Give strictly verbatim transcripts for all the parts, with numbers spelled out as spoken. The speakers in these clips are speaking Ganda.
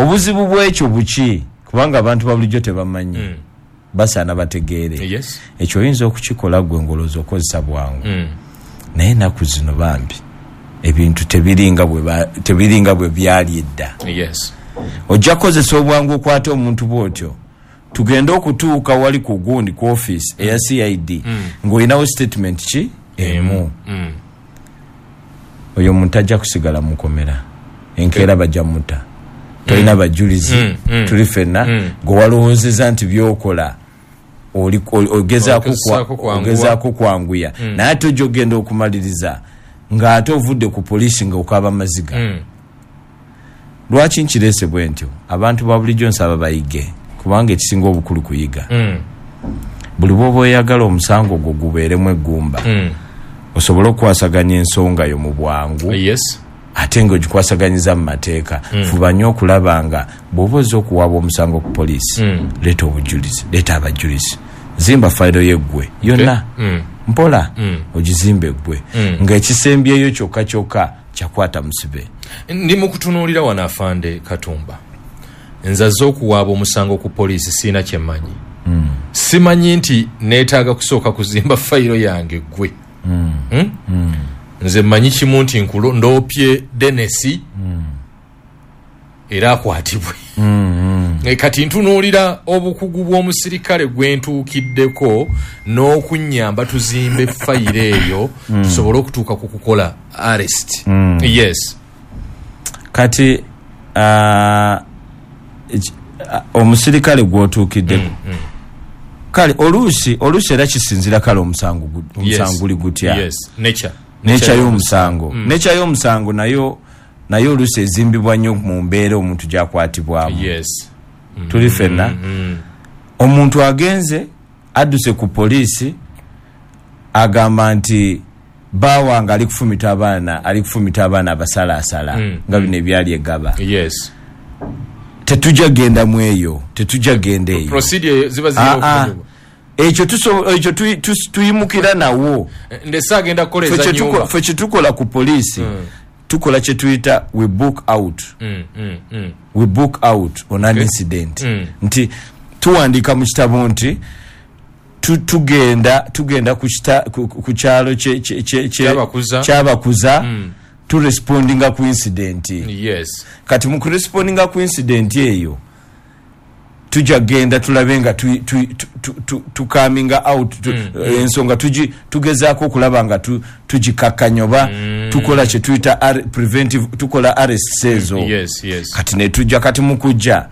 Obuzibu bwekyo buki? Kubanga abantu ba bulijjo tebamanyi. Mm. Basaana bategeere. Yes. Ekyo oyinza okukikola gwe ng'olowooza okozesa bwangu. Mm. Naye ennaku zino bambi ebintu tebiringa bwe ba- tebiringa bwe byali edda. Yes. Ojja kukozesa obwangu okwata omuntu bw'otyo, tugende okutuuka wali ku gundi ku office eya C I D ng'olinawo statement ki emu. Mm. Oyo omuntu ajja kusigala mukomera, enkeera bajja muta, tolina bajulizi. Mm, mm. Tuli ffenna Mm. gwe walowoozeza nti byokola oli- oli- ogezaako kwa- Ogezaako kwanguwa. Ogezaako kwanguya, naye ate ojja ogenda okumaliriza ng'ate ovudde ku poliisi nga okaaba maziga. Mm. Lwaki nkireese bwe ntyo? Abantu ba bulijjo nsaba bayige, kubanga ekisinga obukulu kuyiga. Mm. Buli bwoba oyagala omusango gwo gubeeremu eggumba, Mm. osobole okukwasaganya ensonga yo mu bwangu, Yes. ate ngaogikwasaganyiza mu mateeka, fuba nnyo okulaba nga bw'oba ozza okuwaaba omusango ku poliisi, Mm. leeta obujulizi, leeta abajulizi, zimba fayiro yeggwe yonna Mm. mpola, Mm. ogizimba eggwe, Mm. ng'ekisembyeyo kyokka kyokka kyakwata musibe. Ndi mu kutunuulira wano, afande Katumba, nzaze okuwaaba omusango ku poliisi, siina kyemmanyi, simanyi nti neetaaga kusooka kuzimba fayiro yange gwe. Hmm? Nze mmanyi kimu nti nkulo ndoopye Denesi era akwatibwe. E, kati ntunuulira obukugu bw'omusirikale gwe ntuukiddeko n'okunnyamba tuzimbe fayiro eyo, tusobole okutuuka ku kukola arrest. Yes. Kati ah, eki- ah, omusirikale gwotuukiddeko, kale oluusi oluusi era kisinzira kale omusango gu- omusango guli gutya. Yes, nature. Nature y'omusango nature y'omusango nayo nayo oluusi ezimbibwa nnyo mu mbeera omuntu gyakwatibwamu. Yes tuli ffenna? Omuntu agenze adduse ku poliisi, agamba nti bawange ali kufumita abaana, ali kufumita abaana abasalaasala, nga bino ebyali egaba. Yes tetujja genda mu eyo, tetujja genda eyo. Procedure ziba zirina Ah, ah. okukolebwa. Ekyo tuso- ekyo tuyi- tus- tuyimukira nawo. Ndese agenda Ffe kukola kye tuko- nyumba. Ffe kyetukola ku poliisi, tukola kyetuyita we book out. Mm, mm, mm. We book out on an incident, Mm. nti tuwandiika mu kitabo nti tu- tugenda tugenda ku kita- ku- ku kyalo kye- kye- kye- kye- Kyabakuza. Kyabakuza, turespondinga ku incident. Yes kati mu kurespondinga ku incident eyo, tujja genda tulabe nga tu- tu- tu- tu- tu- tukaminga out tu, ensonga tugi- tugezaako okulaba nga tu- tugikakkanya oba tukola kyetuyita ar- preventive, tukola arrests ezo. yes yes Kati netujja, kati mukujja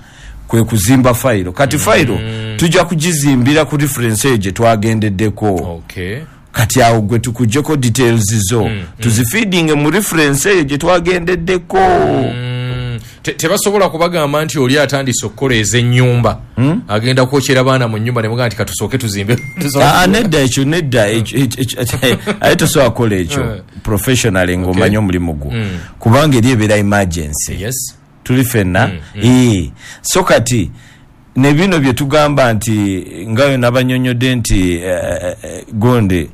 kwe kuzimba fayiro. Kati fayiro tujja kugizimbira ku reference eyo gye twagendeddeko. Okay kati awo gwe tukuggyeko details zo, tuzifeedinge mu reference eyo gye twagendeddeko. Mm. Te- tebasobola kubagamba nti oli atandise okukola ez'ennyumba, agenda kwokyera baana mu nnyumba, nemugamba nti katusooke tuzimbe tusooke- Ah, ah, nedda, ekyo nedda, ekyo- ekyo- ekyo- aye tosobola kukola ekyo Eh. professionally ng'omanyi omulimu gwo, kubanga eri ebeera emergency. Yes tuli ffenna? Eh. So kati ne bino bye tugamba nti nga nabanyonyodde nti eh, eh, gonde eh,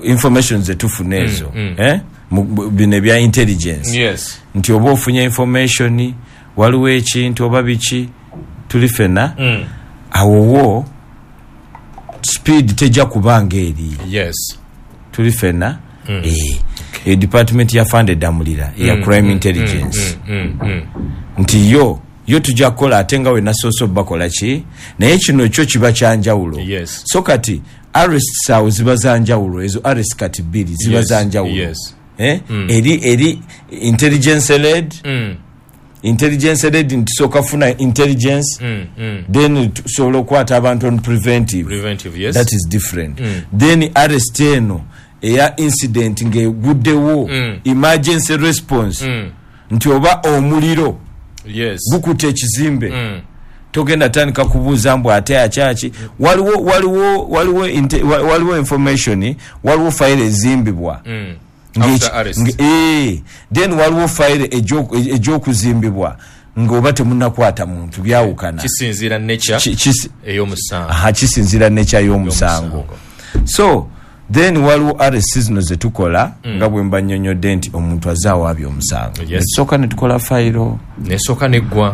information zetufuna ezo, eh? Mu- bu- bino ebya intelligence, yes nti oba ofunye information waliwo ekintu oba biki, tuli ffenna? Mm. Awo wo speed tejja kubanga eri. Yes tuli ffenna? Eh, e department ya fande Damulira eya crime intelligence, mm, mm. nti yo yo tujja kukola, ate nga wenasoose obakola ki, naye kino kyo kiba kyanjawulo. Yes. So kati arrests awo ziba zanjawulo, ezo arrest kati bbiri ziba Yes, zanjawulo. yes. Eh? eri eri intelligence led. Mm, Intelligence led nti tusooka funa intelligence, mm, mm. then tusobola okukwata abantu on preventive. Preventive, yes. That is different. Then arrest eno eya incident ng'eguddewo, Mm. emergency response, Mm. nti oba omuliro yes gukuta ekizimbe, Mm. togenda tandika kubuuza mbu ate akyaki. Waliwo waliwo waliwo inte- wa- waliwo information, waliwo fayiro ezimbibwa. Mm. Ng'eki- After arrest. nge- eh, then waliwo fayiro egyo- egy'okuzimbibwa ng'oba temunakwata muntu, byawukana. Kisinziira nature Ki- kisi- ey'omusango. Aha, kisinziira nature y'omusango. So then waliwo arrest zino zetukola nga bwe mba nnyonnyodde nti omuntu azze awaabye omusango, Yes. netusooka ne tukola fayiro. Nesooka neggwa.